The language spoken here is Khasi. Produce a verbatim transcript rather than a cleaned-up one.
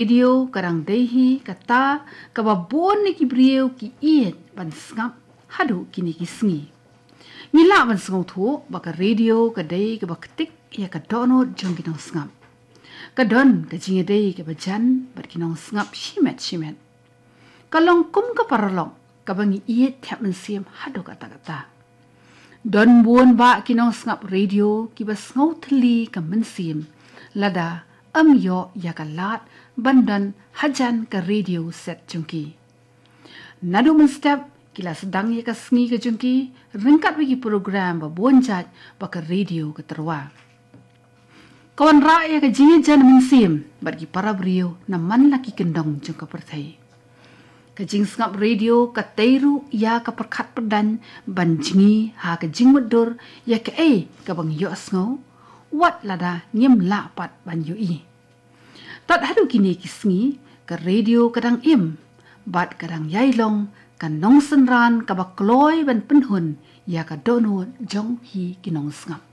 Radio ka dang dei hi kata kaba bun na ki briew ki ïeit ban sngap haduh kine ki sngi. Ngi lah ban sngewthuh ba ka radio ka dei kaba ktik ïa ka dohnud jong ki nongsngap. Ka don ka jingïadei kaba jan bad ki nongsngap shimet shimet. Ka long kum ka paralok kaba ngi ïeit thep mynsiem haduh katta katta. Don bun bah ki nongsngap radio kiba sngew thylli ka mynsiem lada ym ïoh ïa ka lad ban don hajan ka radio set jong ki. Naduh mynstep ki la sdang ïa ka sngi ka jong ki ryngkat bad ki program ba bun jait ba ka radio ka tyrwa. Ka wanrah ïa ka jingïajan mynsiem bad ki para briew na man la ki kyndong jong ka pyrthei. Ka jingsngap radio ka tei ruh ïa ka pyrkhat pyrdaiñ ban jngi ha ka jingmutdur ïa kaei kaba ngi ïohsngew, wat lada ngim lah pat ban ïohi. Tad haduh kine ki sngi ka radio ka dang im bad ka dang ïai long ka nongsynran kaba kloi ban pynhun ïa ka dohnud jong hi ki nongsngap.